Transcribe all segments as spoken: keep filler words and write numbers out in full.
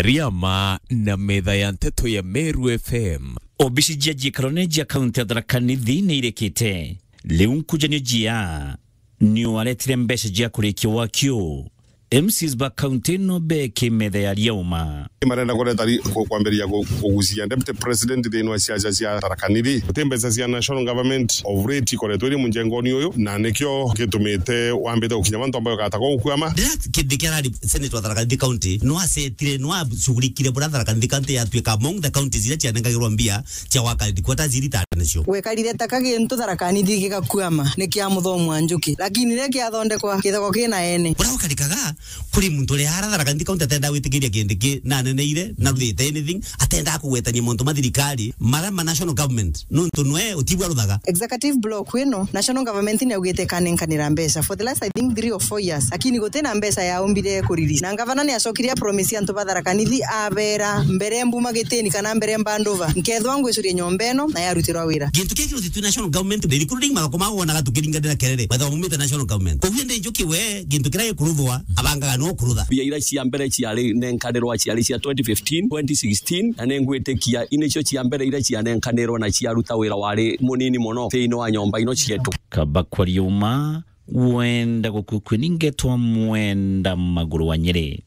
Riama na metha ya nteto ya Meru F M. Obici cia ciikarone cia kaunti ya Tharaka Nithi ni irikite. Riu nkujanio jia ni waretire mbeca cia kurikia waki uu. M Cs ba kaunti ino beki metha ya Riauma. Marenda kureta ri-, ku-, kwambiriria ku-, kugucia Deputy President thiini wa siasa cia Tharaka Nithi. Guti mbeca cia National Government of late ikoretwe iri munjengoni uyu, na nikio gitumite wambite gukinya mantu ambayo gatagwa gukwama. Riria Kindiki arari Senator wa Tharaka Nithi County, no asetire, no acugurikire buria Tharaka Nithi County yatuika among the counties iria cianengagirwa mbia cia gwaka headquarters iri ta nacio. Gwekarire ta ka gintu Tharaka Nithi gigakuama ni kia Muthomi wa Njuki, lakini riria kiathondekwa, githagwa kina ene. Buria gukarikaga, kuri muntu uria ara Tharaka Nithi County atendaa gwitikiria Kindiki na aneneire na ruthite anything, atendaa kugwetania mauntu ma thirikari, maria ma national government, nontu nwe utibwa ruthaga. Executive block ino, national government ni augite ikanenkanira mbeca for the last, I think, three or four years, lakini gutina mbeca yaumbire kuriri. Na ngavana ni acokire a promise antu ba Tharaka Nithi, abera, "Mbere mbuma gitini kana mbere mbanduva, nkethwa ngwicuria nyomba ino na yarutirwa wira." Gintu kia kirutitwe national government, the recruiting magako ma wonaga tukiringanira kerere, wethagwa mumite national government. Koguo ndi Njuki we, gintu kiria gikuruthwa, abangaga no kurutha. Mbia iria cia mbere ciari nenkanirwa ciari cia twenty fifteen, twenty sixteen, na ningwitikia inicio cia mbere iria cianenkanirwa na ciaruta wira wari munini mono thiini wa nyomba ino cietu. Kaba kwa Riuma, wenda gukukwe ni ngetwa Mwenda Maguru wa Nyeri.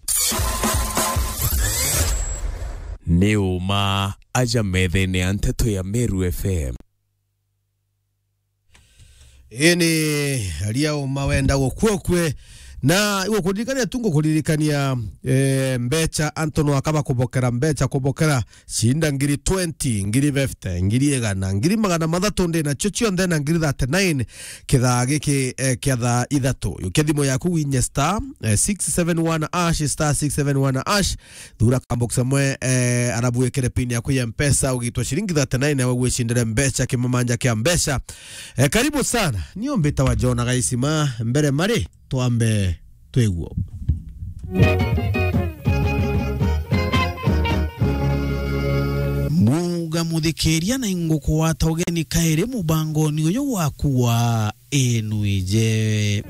Ni uma aja methene ya nteto ya Meru F M. Ini aria uma wenda gukua ukue. Na igukuririkania tu, ngukuririkania, eh, mbeca, antu no akaba kubokera mbeca, kubokera cinda ngiri twenty, ngiri fifty, ngiri igana, ngiri magana mathatu ndi nacio cionthe na ngiri thirty-nine kithaa giki, eh, kia thaa ithatu. Yukia thimu yaku winye star, eh, six seven one hash, star six seven one hash, thura kabox amwe, eh, arabu wikire pin yaku ya Mpesa, ugitwa ciringi thirty-nine, nawe gwicindire mbeca, kimamanja kia mbeca. Eh, karibu sana. Nio mbitawa John Gaisima, mbere mari, twambe twiguo. Muga muthikiria na ingukugwata ugeni kairi mubangoni uyu waku wa Inuije.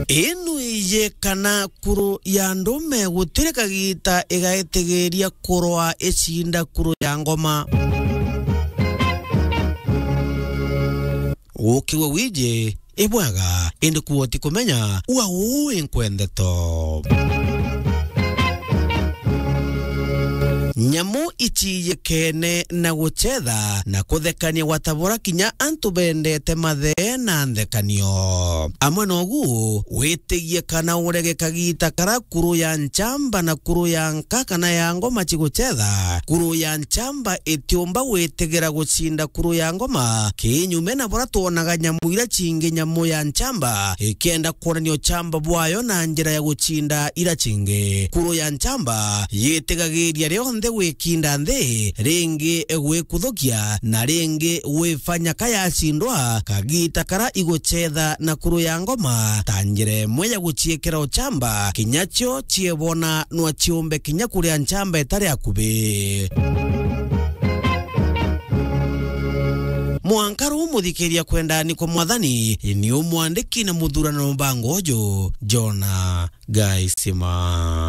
Inuije kana kuru ya ndume gutiri kagita igaitigiria kurwa icinda kuru ya ngoma. Gukiwe wiji ibwega, indi kuo ti kumenya, ua uu inkwendeto. Nyamu iciyikene na gucetha na kuthekania gwatabura kinya antu bendete mathee na nthekanio. Amwe nogu, witigie kana urege kagita kara kuru ya nchamba na kuru ya nka kana ya ngoma cigucetha. Kuru ya nchamba itiumba gwitigira gucinda kuru ya ngoma, kinyume na buria twonaga nyamu iria cingi, nyamu ya nchamba ikienda kwonania uchamba bwayo na njira ya gucinda iria cingi. Kuru ya nchamba yitigagiria rionthe gwikinda nthi, ringi gwikuthukia, na ringi gwifanya ka yacindwa, kagita kara igucetha na kuru ya ngoma ta njira imwe ya guciikira uchamba, kinya cio ciebona nwa ciumbe kinya kuria nchamba itari akubi. Mwanka ruu muthikiria kwendani kwa Mwathani, ni umwandiki na muthurano mbango uju, Jona Gaisima.